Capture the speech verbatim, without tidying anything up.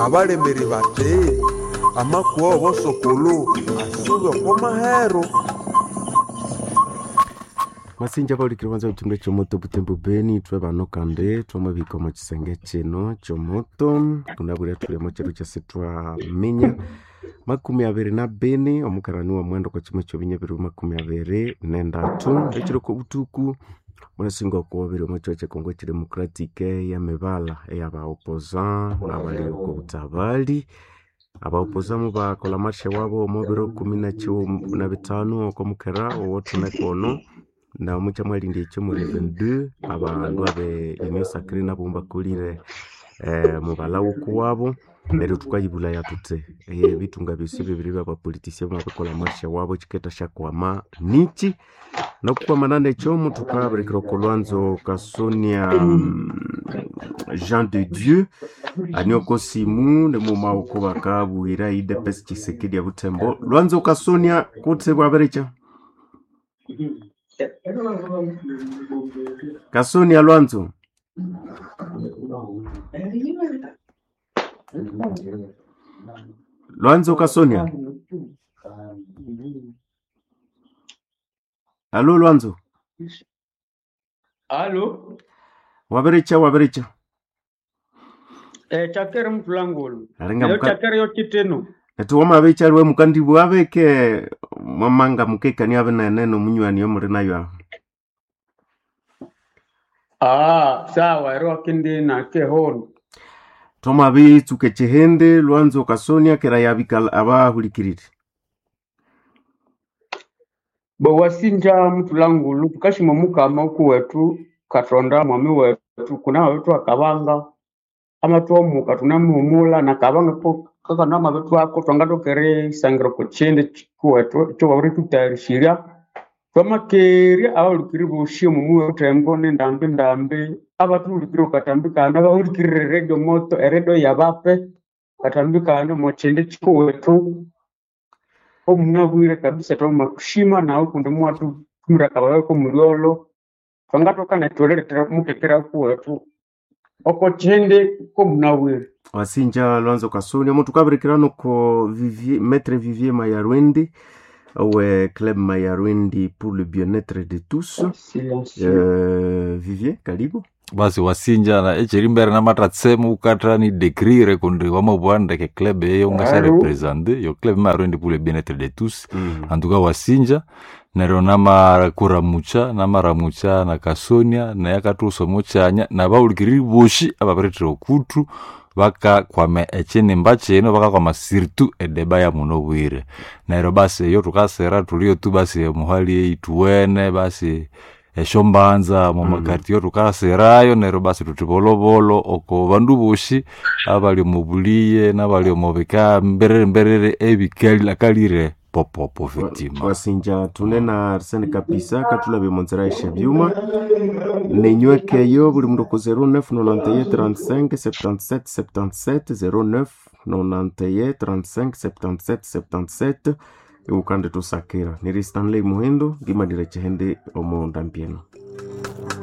Abalemeri bati amakuwa w'obosokolo asube oko mahero. Masinja baulikire banza butimba ekyomoto butembo beni ithwe bano kandi twamabihika omo kisenge kino kyomoto kunabwire thuli omo kiro kyasi twaminya makumi abiri na bini omukarani wa mwenda okwa kyima kyobinya biri makumi abiri nendatu ekiro kobuthuku munasinga okubabiri omo kyihwa kyekongo ekidemocratic eyemibala eyaba opposant nabali oko butabali. Aba opposant mubakolha marshe wabo omo biro kumi nakyighuma nabithanu oko mukera owothune kono na mukyamwalindya ekyo muli vingt-deux abandu abe union sacrée nabo mubakolire mubalha wukuwabo neryo thukayibulaya thuthi ebithunga byosi bibiri byaba politician bamabirikolha marshe wabo kyikendasyakwama nikyi? Nokukwamanana nekyo muthukabirikira oko lwanzo Kasonia Jean de Dieu ani oko simu nimughuma wuku bakabuyira U D P S Tshisekedi e Butembo. Lwanzo Kasonia kutse bwabirikya? Kasonia Lwanzo. Lwanzo Kasonia. Alo Lwanzo. Alo. Wabiricha wabiricha. Eh chakere mutulangulu. Aringa Yo muka chakere yo kiteno. Etu wamabicha lwe mukandibu abeke mwamanga mukekania abenene nomunywani omuli nayo aho. Ah, sawa ero akindi na kehono. Twamabitsuka ekyihindi Lwanzo Kasonia kera yabika abahulikirire. Bo wasinja mutulangulu tukashima mukama okuwetu Katonda mwami wetu kuna wetu akabanga amatwomuka tunamuhumula nakabanga ko kakana mabetu ako twangatokere isangiro kuchindi kuwetu kyo wabirithutayarishirya twamakerya abahulikiri boshi omu Butembo nendambi ndambi abathuhulikire katambi kano abahulikirire radio moto eredio yabape katambi kano omu kindi kikuwetu omunabwire kabisa twamakushima nawe kundi muwathutumira akabaga komulyolho twangathoka nethuletera mukekera kuwetu oko kindi komunabwire. Wasinja Lwanzo Kasonia muthukabirikira noko Vivier, Maître Vivier Mayarwendi owe Club Mayarwendi pour le bien-être de tous. Silencieux. Euh, Vivier, karibu. Basi wasinja na echerimbere namatatsemu ukatra ni décrire kundi wamabwa ndeke club eyo ngasha Allô? représenter yo club Mayarwendi pour le bien-être de tous. Mm. En tout cas wasinja neryo namakuramucha namaramucha na Kasonia naye akathusa omukyanya nabawulikiriri boshi ababiretera okuthu bakakwama ekyinimba kino bakakwama surtout edeba ya muno bwire neryo basi eyo thukasira thuliyo tu basi omuhali eyithuwene basi esyombanza mumakartier thukasirayo neryo basi thuthi bolobolo oko bandu boshi abali omu buliye nabali omu bika mberere mberere ebikali popopo effectivement. Wasinja tune na Arsene Kapisa katulabye omunzira esyebyuma nenywekeyo buli mundu ku zero neuf nonante trente-cinq septante-sept septante-sept zero neuf nonante trente-cinq septante-sept septante-sept iwukandi tusakira niri Stanley Muhindo ngimanire kyihindi omu ndambi eno.